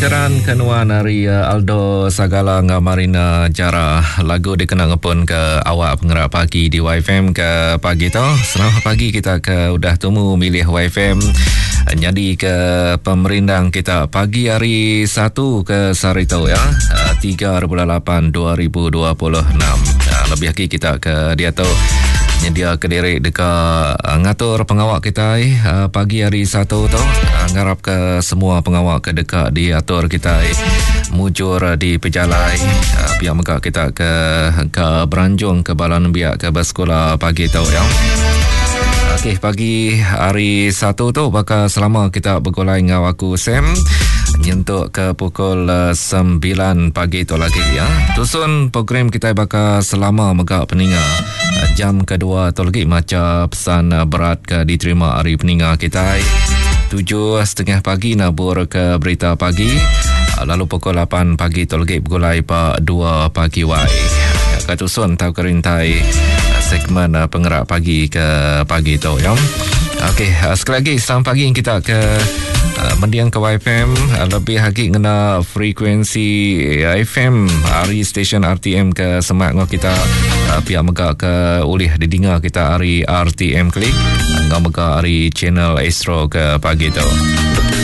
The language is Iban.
Keran ke nuan ari eh, Aldo Sagala enggau Marina Jara. Lagu dikena ngepun ke awak pengerak pagi di YFM ke pagi tu. Selamat pagi kita ke udah tumu milih YFM nyadi ke pemerindang kita pagi hari satu ke sehari tu ya. 3 bulan 8 2026. Lebih lagi kita ke diatu nyedia ke diri deka eh, ngatur pengawa kitai eh, pagi hari satu tu eh, ngarap ke semua pengawa ke deka diatur kitai mujur di pejalai pia mega kita ke ke beranjung ke bala nembiak ke bersekula pagi tu ya. Okey, pagi hari satu tu baka selama kita begulai enggau aku Sam nyentuk ke pukul 9 pagi tu lagi ya. Tusun program kita baka selama mega peninga. Jam kedua tu lagi macha pesan berat ke diterima ari peninga kitai. 7.30 pagi nabur ke berita pagi. Lalu pukul 8 pagi tu lagi begulai ba 2 pagi wai. Ke tusun tau ke rintai segmen pengerak pagi ke pagi tu ya. Okey, sekali lagi selamat pagi kita ke mending ke YFM lebih lagi ngena frekuensi FM ari stesen RTM ke semak ngau kita pia mega ke ulih didinga kita ari RTM Klik ngau mega ari channel Astro ke pagi tu.